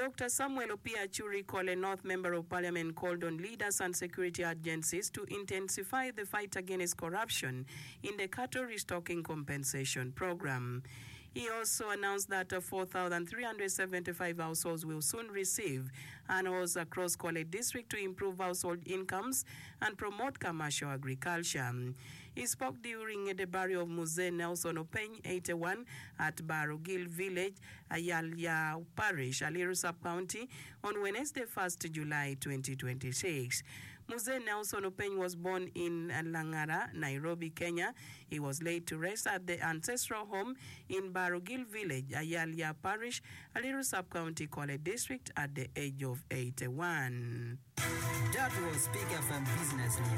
Dr. Samuel Opiyo Achuri, Kole North Member of Parliament called on leaders and security agencies to intensify the fight against corruption in the cattle restocking compensation program. He also announced that 4,375 households will soon receive animals across Kole District to improve household incomes and promote commercial agriculture. He spoke during the burial of Muzee Nelson Openy, 81, at Barugil Village, Ayalya Parish, Aliru Sub-County, on Wednesday 1st July 2026. Muzee Nelson Openy was born in Langara, Nairobi, Kenya. He was laid to rest at the ancestral home in Barugil Village, Ayalya Parish, Aliru Sub-County, Kole District at the age of 81. That was Peak FM Business News.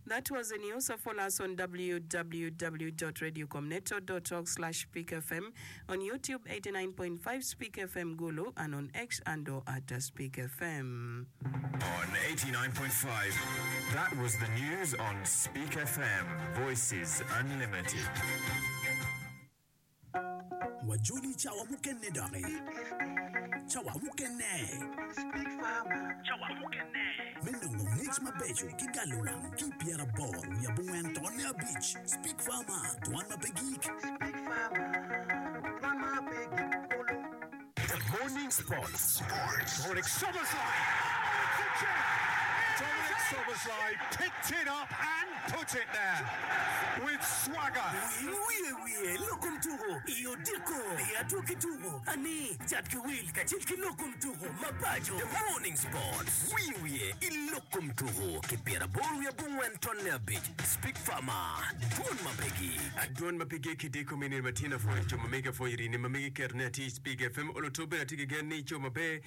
That was the news. Follow us on www.radiocomneto.org slash peakfm, on YouTube 89.5 Speak FM Gulu, and on X handle at Speak FM. On 89.5, that was the news on Speak FM, Voices Unlimited. Wajoli cawa mukene doki. Cawa mukene. Me nongo ngec mabeco ki galowang ki i pyeraboro wiye abongwen tonne abic, Speak Farmer, Dwan ma pe gik. The Morning Sports. Dominic Szoboszlai! Oh, it's a gem! Dominic Szoboszlai picked it up and put it there with swagger. Wiye wiye lok kom tuko i odiko i adwogi tuko ani cat ki wil kacel ki lok kom tuko mapaco. The Morning Sports. Wiye wiye i lok kom tuko ki pyeraboro wiye abongwen tonne abic. Speak Farmer, Dwon ma pe gik. Dwon ma pe gik i diko me nino matino apwoyo jo ma mege apwoyo rini ma mege keto ne atir Speak FM olo to bene atye ki gen ni ico maber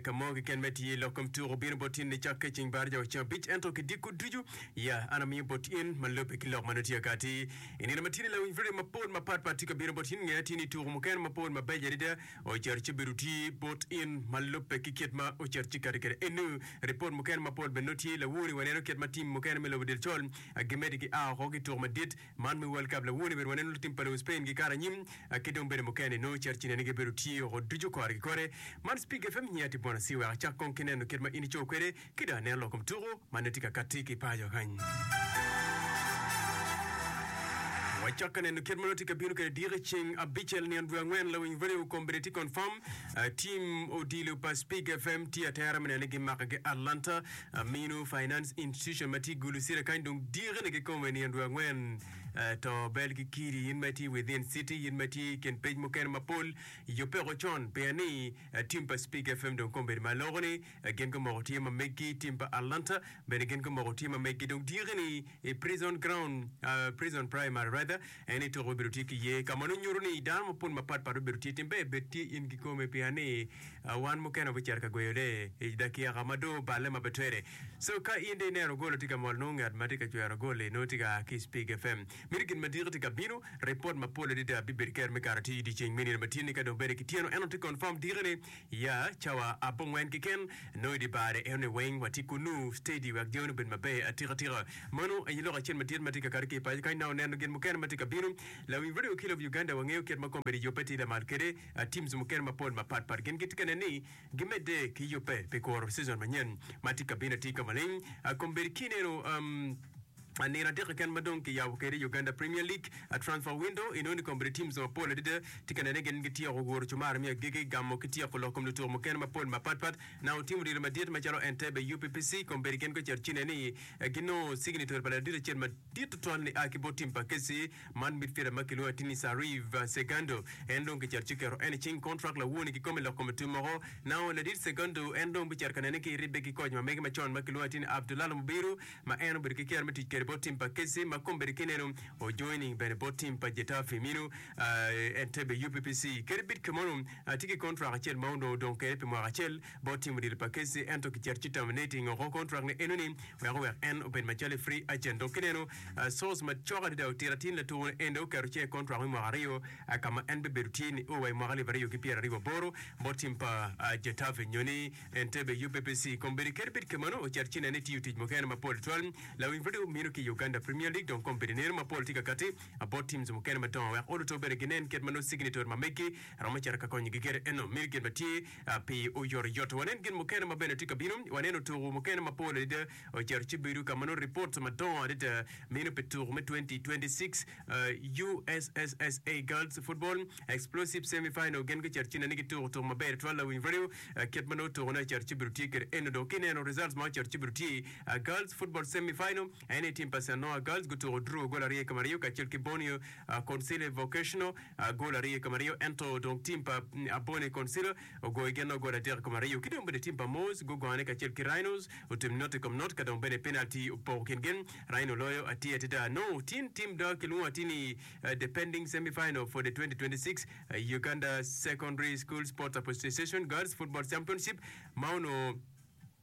ka mo keken ma itye lok kom tuko bino bot in nicakke ceng bar jawa ceng abic ento ki diko ducu ya an amiyo bot in ma lube ki lok ma nongo tye akati i nino matino lawiny radio mapol mapat pat tye ka bino bot in nge atir ni tuko mukene mapol mabeco adada Ocito ci bedo tye bot in ma lubbe ki kit ma ocito ci kati kwede. Enu, ripot mukene mapol bene nongo tye. Lawor-ri waneno kit ma tim mukene me lobo del col gimedde ki a oko ki tuko madit man me World Cup. Lawor-ni bene waneno lutim pa lobo Spain gikato anyim ki dong bene mukene nongo ocito ci nene gibedo tye oko ducu kore ki kore. Man Speak FM nyiya tye Bwana Siwek. Acak kong ki neno kit ma in ico kwede ki dong aneno lok kom tuko ma nongo tye ka katti ki paco kany. Wacak ka neno kit ma nongo tye ka bino kwede diki ceng abicel nino dwe angwen lawiny radio kombeddi tye confirm team odilo pa Speak FM tye atera me neno ni gimako ki Atlanta Amino Finance Institution ma tye i Gulu City kany dong diki ni kikome nino dwe angwen to bel ki kidi in ma itye within city in ma itye i kin pec mukene mapol yubbe oko con pien ni team pa Speak FM dong kombeddi ma aloko ni Gin gumoko tye ma meggi, tim pa Atlanta bene gin gumoko tye ma meggi. Dong dyeki-ni i Prison Ground, Prison Primary rather, en aye tuko bibedo tye ki iye, ka ma nongo nyuto ni dano mapol mapat pat bibedo tye. Tim ber bed tye in kikome pien ni wan mukene wabicito ka gweyone i dakika ma dong oballe ma pe twere. So ka in dong ineno gol tye ka mol nongo ngat ma tye ka cwero gol-li nongo tye ka a ki i Spig FM. Meno gin ma diki tye ka bino, ripot mapol adada bibedo kero me kato tye i dyeceng me nino ma tye-ni ka dong bene kityeno ento tye confirm diki-ni. Ya cawa abongwen keken, nongo i dye bar-ri enoni weng watye kunnu steady wek jami obed maber atika tika. Meno aye lok acel madit ma tye ka kato ki i paco kany. Nongo neno gin mukene ma tye ka bino. Lawiny Radio ki Love Uganda wangeyo kit ma kombeddi yubbe tye lamal kwede. Teams mukene mapol mapat pat gin gitye ka neno ni gimedde ki yubbe pi kuro season manyen ma tye ka bino atir ka maleng. Kombeddi ki ineno Nino adek keken ma dong kiyabo kwede Uganda Premier League transfer window inongo ni kombeddi teams mapol adada tye ka nene gin gityeko guro cumar me agikki gamo ki tyeko lok kom lutuko mukene mapol mapatpat. Na otimo diro madit macalo Entebbe UPPC kombeddi gin gucito ci nene ni ginongo signature pa ladit acel madit tutwal ni a ki bot team pa KC man midfielder ma kilwongo atir ni Sariv Segando en dong kicito ci keto en i cing contract lawoni kikome lok kom otum woko. Now ladit Segundo en dong bicito ka nene ki ribbe ki koc ma mege macon ma kilwongo atir ni Abdulalo Mubiru ma en obedo ki kero me tic kwede bot tim pa Keci ma kombeddi ki neno ojoining bene bot tim pa Getafe mino Entebbe UPPC. Kadi bed kimono, atye ki kontrak acel ma onongo odong kwede pi mwaka acel bot tim odilo pa Keci ento kicito ci terminating oko kontrak ne enoni wek owek en obed macalo free agent. Dong ki neno source macok adada otito atir ni latuko ni eni oketo cinge i kontrak me mwaka aryo ka ma en bibedo tye nio wa i mwaka alip aryo ki pyeraryo aboro bot tim pa Getafe nyo ni Entebbe UPPC. Kombeddi kadi bed kemano, ocito ci nene tiyo tic mukene mapol tutwal. Lawiny pud omino. Meno ki i Uganda Premier League dong kombeddi neno mapol tye ka kati bot teams mukene madongo wek oluto bene ginen kit ma nongo signature ma megi romo cito ka konyogi kwede. Eno meno gin ma tye pi oyotoyot. Wanen gin mukene ma bene tye ka bino. Waneno tuku mukene mapol adada ocito ci bedo ka ma nongo reports madongo adada meno pi tuku me 2026 USSSA Girls Football Explosive Semi Final gin gucito ci nene gituko tuku maber tutwal lawiny radio kit ma nongo tukune ocito ci bedo tye kwede. Eno dong ka ineno results ma ocito ci bedo tye Girls Football Semi Final en aye tim pa Sanoa Girls gutuko draw gol aryo i kom aryo kacel ki Borneo Consile Vocational gol aryo i kom aryo ento dong tim pa Abone Consile ogoyo gin nongo gol adek i kom aryo ki dong bene tim pa Moors gugone kacel ki Rhinos otim not i kom not ka dong bene penalty opoko kin gin Rhino loyo atir adada nongo tin tim dok kilwongo atir ni the pending semi final for the 2026 Uganda Secondary School Sports Association Girls Football Championship ma onongo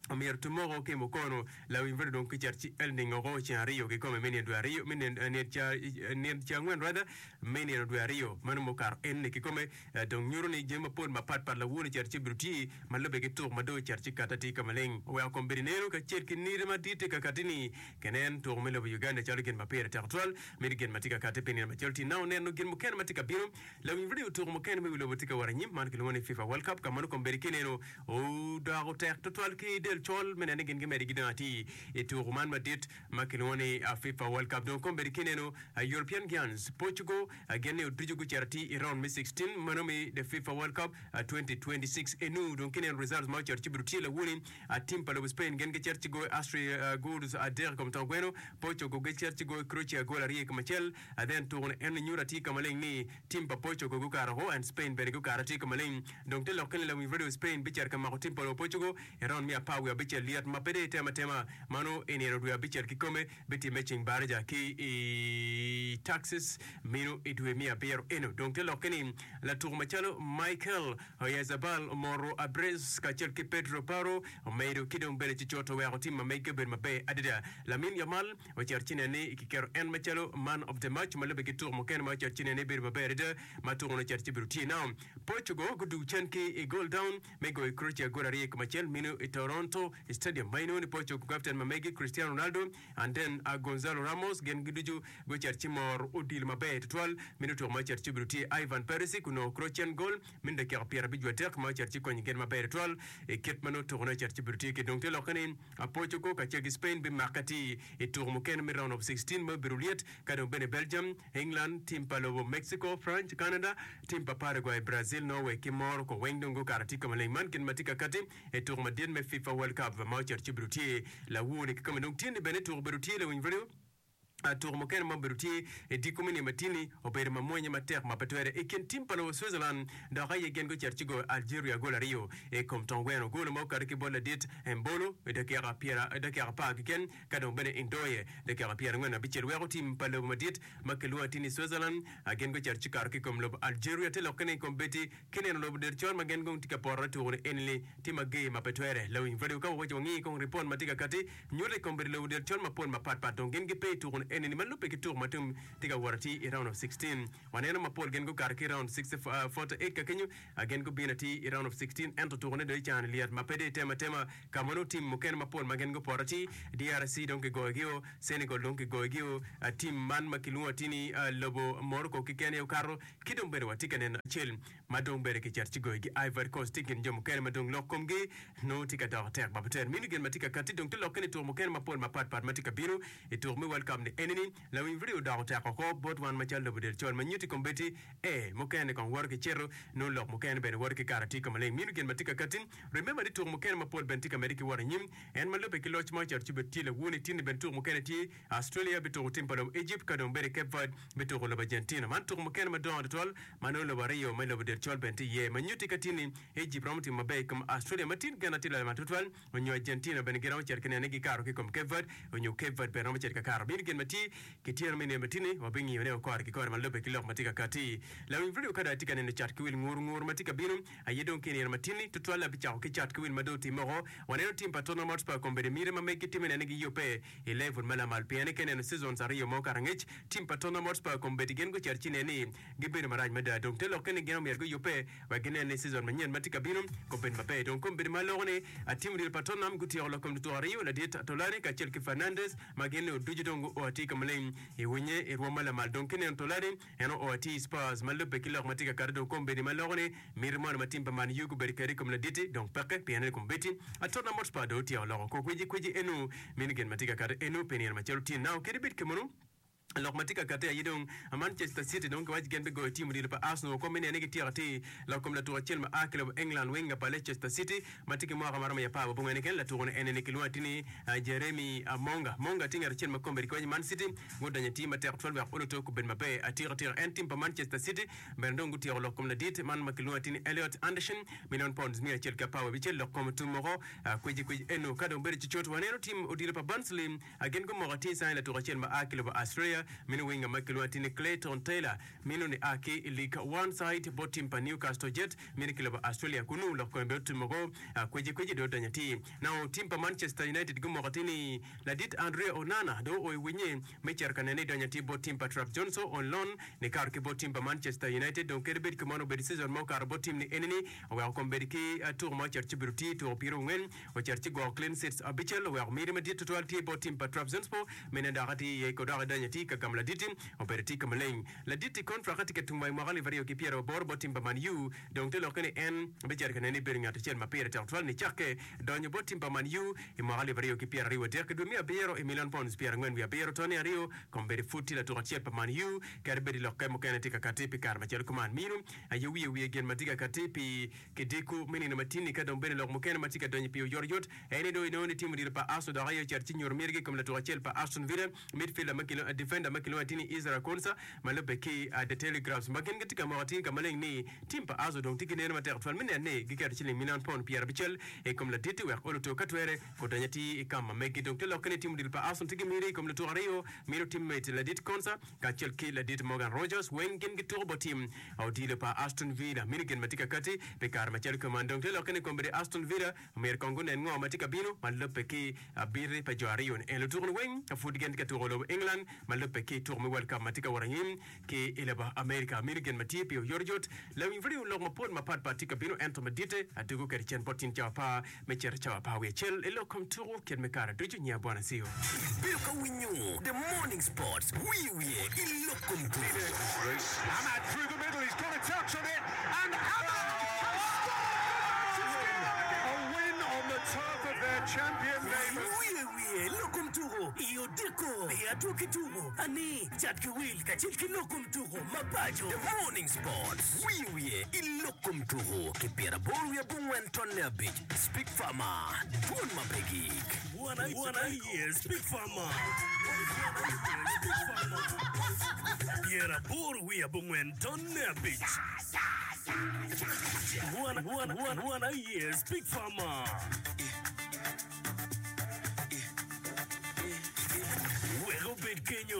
Omyero tumoko ki mukono lawiny bedo dong kicat ci el ningo oko ceng aryo kikome me nino dwe aryo me nino ca angwen rather me nino dwe aryo meno mukato enoni kikome dong nyuto ni jami mapol mapat pat lawoni cet ci obedo tye ma lube ki tuk ma dong cet ci kati atir ka maleng oweko kombeddi neno kacel ki niti madit tye ka kati ni kenen tuko me lobo Uganda calo gin ma pire tek tutwal mito gin ma tye ka kati pi nino macol tye nao neno gin mukene ma tye ka bino Lawiny redio tuko mukene me wi lobo tye ka wot anyim, man kilwongo ni FIFA World Cup, ka ma nongo kombeddi ki ineno odoko tek tutwal ki del col me neno ni gin gimedde gidongo atir i tuko man madit ma kilwongo ni FIFA World Cup. Dong kombeddi ki ineno European Giants, Portugal gin ni oducu gucito atir i round me 16 meno me the FIFA World Cup 2026 enu. Dong ki ineno results ma ocito ci obedo tye lawoni, tim pa lobo Spain gin gicito ci goyo Austria goals adek i kom tong gweno, Portugal gicito ci goyo Croatia gol aryo i kom acel. Then tuko ni eno nyuto atir ka maleng ni tim pa Portugal gukato oko and Spain bene gukato atir ka maleng. Dong te lokke ni lawiny radio Spain bicito ka mako tim pa lobo Portugal i round me apar wiye abicel lyet ma pe dong itemo atema mano i nino dwe abicel kikome bitimme ceng baraja ki i Taxes meno i dwe me abiro eno. Dong te lokke ni latuko macalo Michael Oyarzabal omoro Abres kacel ki Pedro Porro omedo ki dong bene cucut oweko tim ma mege obedo maber adada. Lamine Yamal Ocito ci nen ni kiketo en macalo man of the match ma lubbe ki tuko mukene ma ocito ci nen ni bedo maber adada ma tuko-ni ocito ci bedo tye. Now, Portugal gudwogo cen ki i goal down me goyo Croatia gol aryo i kom acel mino i Toronto Stadium ma inongo ni Portugal captain ma megi Cristiano Ronaldo and then Gonzalo Ramos gin ducu gucito ci mor odilo maber tutwal mino tuko ma ocito ci obedo tye. Ivan Perisic onongo Croatian goal mino dakika 53 ma ocito ci konyo gin maber tutwal i kit ma nongo tuko-ni ocito ci obedo tye ki dong te lokke ni Portugal kacel ki Spain bimake atir i tuko mukene me round of 16 ma obedo lyet, ka dong bene Belgium, England, tim pa lobo Mexico, France, Canada, tim pa Paraguay, Brazil, Norway ki Morocco weng dong gukato atir ka maleng. Man gin ma tye ka kati i tuko madit me FIFA World Cup ma ocito ci obedo tye lawor-ni kikome. Dong tye ni bene tuko obedo tye lawiny radio. Tuko mukene ma obedo tye i dyekor me nino matini obedo mamwonya matek ma pe twere i kin tim pa lobo Switzerland dok aye gin gucito ci goyo Algeria gol aryo i kom tong gweno. Gol ma okato ki bot ladit Embolo i dakika 10 keken ka dong bene Ndoye dakika 45 weko tim pa lobo madit ma kilwongo atir ni Switzerland gin gucito ci kato ki i kom lobo Algeria. Te lokke ni kombeddi ki neno lobo del col ma gin gong tye ka porre tuko ni enini tye mager ma pe twere. Lawiny radio ka wawaco wangi kong ripot ma tye ka kati Nyuto i kom bedo lobo del col mapol mapat pat dong gin gipe i tuko eni ni ma lubbe ki tuko ma tum tye ka wot atir i round of 16. Waneno mapol gin gukato ki i round 48 ka kenyo gin gubino atir i round of 16 ento tuko ne dong i cani lyet ma pe dong itemo atema ka ma nongo tim mukene mapol ma gin gupoto atir DRC dong kigoyo gi o Senegal dong kigoyo gi o tim man ma kilwongo atir ni lobo Morocco keken aye okato ki dong bene watye ka neno acel ma dong bene kicito ci goyogi Ivory Coast tye i kin jo mukene ma dong lok komgi nongo tye ka doko tek ma pe mini gin ma tye ka katti dong tye lokke ni tuko mukene mapol mapat pat ma tye ka bino i tuko me World Cup ni enini lawiny video odoko tek oko bot wan macalo lobo del col ma nyutti kombeddi ee mukene kong woto ki cito nongo lok mukene bene woto ki kato tye ka maleng mini gin ma tye ka katti remember ni tuko mukene mapol bene tye ka medde ki wot anyim en ma lubbe ki loc ma ocito ci bene tye lawoni tinni bene tuko mukene tye Australia bituko tim pa lobo Egypt ka dong bene Cape Verde bituko lobo Argentina. Man tuko mukene madongo tutwal ma nongo lobo aryo me lobo del col bene tye iye. Ma nyutti ka tye ni Egypt romo timo maber i kom Australia ma tin gena tye lamal tutwal onyo Argentina bene giromo cito ki neno ni gikato ki i kom Cape Verde onyo Cape Verde bene romo cito ka kato. Meno gin ma tye ki tyeno me nino ma tye-ni wabingiyo ne kore ki kore ma lubbe ki lok ma tye ka katti. Lawiny vidio ka dong atye ka neno cat ki wil ngur ngur ma tye ka bino aye dong ki i nino ma tye-ni tutwal abicako ki cat ki wil ma dong otimme oko. Waneno tim pa Tottenham Hotspur kombeddi miti ma meggi tye me neno ni giyubbe I level ma lamal pien ka ineno seasons aryo ma okato angec, tim pa Tottenham Hotspur kombeddi gin gucito ci inen ni gibedo marac mada dong te lokke ni gin omyero. guyubbe wek ginen ni season manyen ma tye ka bino obed maber. Dong kombeddi ma aloko ni tim odilo pa Tottenham gutyeko lok kom lutuko aryo, ladit Tolani kacel ki Fernandes ma gin ducu dong guo atir ka maleng i winye i rwom ma lamal. Dong kineno Tolani en oo atir i Spurs ma lubbe ki lok ma tye ka kati dong kombeddi ma loko ni miti moni ma tim pa Man U gubedo kwede i kom ladit-ti dong peke pien ni kombeddi Tottenham Hotspur dong otyeko loko kor kwicikwici enu mini gin ma tye ka kati enu pi nino macalo tye now kadi bed kemunu. Lok ma tye ka kati aye dong Manchester City dong kiwaco gin bigoyo tim odilo pa Arsenal woko me nene gityeko atir lok kom latuko acel ma a ki lobo England winger pa Leicester City ma tye ki mwaka maromo i apar wabongwen keken. Latuko ni eni-ni kilwongo atir ni Jeremy Monga. Monga tye ngat acel ma kombeddi kiwaco Man City gudonyo i tim matek tutwal wek oluto kubed maber atika tika. En tim pa Manchester City bene dong gutyeko lok kom ladit man ma kilwongo atir ni Elliot Anderson milion pounds 116 lok kom otum woko kwicikwic eno. Ka dong bedo cucut waneno tim odilo pa Barnsley Gin gumoko atir cani latuk acel ma a ki lobo Australia, meno winger ma kilwongo atir ni Clayton Taylor, meno ni a ki i League One side bot tim pa Newcastle Jets, meno ki lobo Australia. Kunu lok kome bene otum woko kweci kweci dong odonyo atir. Now tim pa Manchester United gumoko atir ni ladit Andre Onana dong oo i winye me cito ka nene idonyo atir bot tim pa Trabzonspor on loan nikato ki bot tim pa Manchester United. Dong kadi bed kumeno obedo season ma okato bot tim ni enini oweko kombeddi ki tuko ma ocito ci obedo tye tuko pyerongwen. Ocito ci gwoko clean sheets abicel oweko miti madit tutwal tye bot tim pa Trabzonspor mene dok atir iye ko dok idonyo atir ka gamo laditi obedo tye ka maleng. Laditi kontrak tye ka tum wa i mwaka 2028 bot tim pa Man U dong te lokke ni en bicito ka nene ni bedo ngat acel ma pire tek tutwal nicakke donyo bot tim pa Man U i mwaka 2023 ki dwe me abiro i million pounds 47 tone aryo kombeddi pud tye latuk acel pa Man U kadi bed lokke mukene tye ka kati pi kare macalo kuman. Mino aye wiye wiye gin ma tye ka kati pi Kidiko me nino matin-ni ka dong bene lok mukene ma tye ka donyo i pii oyotoyot en ni dong inongo ni tim odilo pa Arsenal dok aye ocito ci nyuto mitigi i kom latuk acel pa Aston Villa, midfielder ma kilwongo defender ma kilwongo atir ni Ezra Konsa ma lubbe ki The Telegraphs ma gin gitye ka moko atir ka maleng ni tim pa Arsenal dong tye ki neno matek tutwal me neno ni giketo ciling milion pound pyerabicel i kom ladit-ti wek oluto ka twere odony atir i kam ma megi. Dong te lokke ni tim odilo pa Arsenal tye ki miti i kom lutuk aryo mito teammate ladit Konsa kacel ki ladit Morgan Rogers weng gin gituko bot tim Odilo pa Aston Villa mini gin ma tye ka kati pi kare macalo kuman. Dong te lokke ni kombeddi Aston Villa omyero kong gunen ngo ma tye ka bino ma lubbe ki abiti pa jo aryo ni. En lutuku ni weng pud gin tye ka tuko lobo England ma lubbe ki tuko me World Cup ma tye ka wot anyim ki i lobo America. Mini gin ma tye pi oyotoyot. Lawiny radio lok mapol mapat pat tye ka bino ento maditte adugo kwede cen bot tin cawa apar me cito cawa apar wiye acel i lok kom tuku kit me kare ducu nyiya Bwana Sio. Ibedo ka winyo The Morning Sports wiye wiye i lok kom tuku. Amad through the middle, he's got a touch on it, and Amad has scored for Manchester United! A win on the turf of their champion neighbours. Wiye wiye lok kom tuku i odiko i adwogi tuku ani cat ki wil kacel ki lok kom tuku ma paco. The Morning Sports wiye wiye i lok kom tuku ki pyeraboro wiye abongwen tonne abic Speak Farmer dwon ma pe gik. Wan aye Speak Farmer 85.5. Wan aye Speak Farmer.